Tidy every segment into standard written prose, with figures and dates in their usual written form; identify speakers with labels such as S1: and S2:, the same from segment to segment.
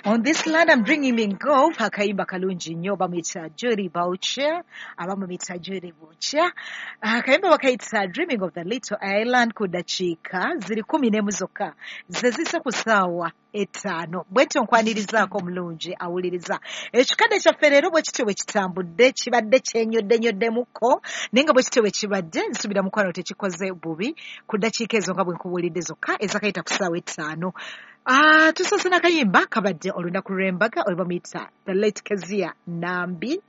S1: On This Land I'm Dreaming Of, akayimba kalungi nnyo, bamuyita Judy Boucher, abamuyita Judy Boucher. Akayimba bakayita Dreaming of the Little Island. Ku dakiika ziri 11 zokka ze zise ku ssaawa 5. Bwetyo nkwanirizaako omulungi awuliriza ekikadde kyaffe leero. Bwe kityo bwe kitambudde, kibadde kyenyoddenyoddemukko, naye nga bwe kityo bwe kibadde, nsuubira mukwano tekikoze bubi. Ku ddakiika ezo nga bwe nkubuulidde zokka ezakayita ku ssaawa 5, tusoose n'akayimba kabadde olunaku lw'embaga, oyo bamuyita the late Kezia Nambi.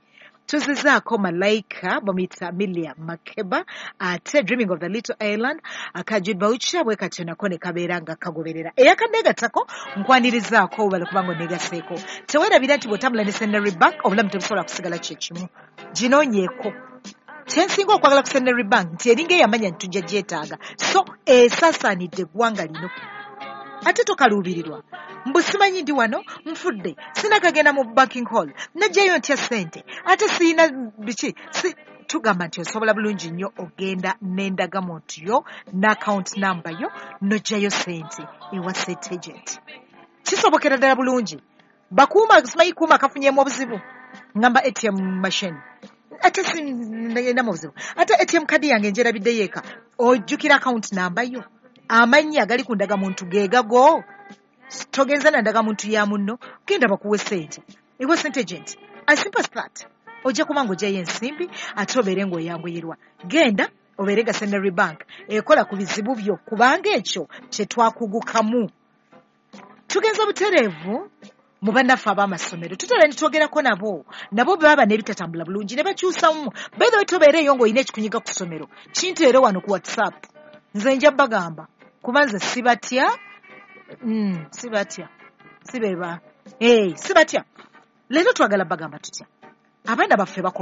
S1: Tuzizaako Malayika, bamuyita Milia Makeba, ate Dreaming of the Little Island aka Jude Boucher. Bwe katyo nako ne kabeera nga kagoberera eyakaneegattako. Nkwanirizaako obale kubanga oneegaseeko. Teweerabira nti bw'otambula ne Centenary Bank, obulamu tebusobola kusigala kyekimu. Ginoonyeeko. Kyensinga okwagala ku Centenary Bank nti eringa eyamanya nti tujja gyetaaga, so esaasaanidde eggwanga lino. Ate tokaluubirirwa mbu simanyi ndi wano nfudde, sinakagenda mu banking hall, najjayo ntya ssente, ate siyina biki si. Tugamba nti osobola bulungi nnyo ogenda n'endagamuntu yo n'account number yo, n'oggyayo ssente ewa sente agent. Kisobokera ddala bulungi. Bakuuma simanyi kuuma kafunyemu obuzibu, ngamba ATM machine, ate sininamu obuzibu, ate ATM kadi yange njerabiddeyo eka. Ojjukira account number yo, amannya agali ku ndagamuntu geegago, togenza na ndagamuntu ya munno. Genda bakuwe sente ewa sente agent, as simple as that. Ojja kuba ng'ogyayo ensimbi ate obeere ng'oyanguyirwa. Genda obeere nga Centenary Bank ekola ku bizibu byo, kubanga ekyo kye twakugukamu. Tugenza butereevu mu bannaffe ab'amasomero. Tutera ne twogerako nabo, nabo baba n'ebitatambula bulungi ne bakyusamu. By the way, tobeereeyo ng'olina ekikunyiga ku ssomero, kinteere wano ku WhatsApp, nze nja bagamba, kuba nze sibatya. Sibatya, sibeba, hey, sibatya. Leero twagala bagamba tutya abaana baffe bakoma.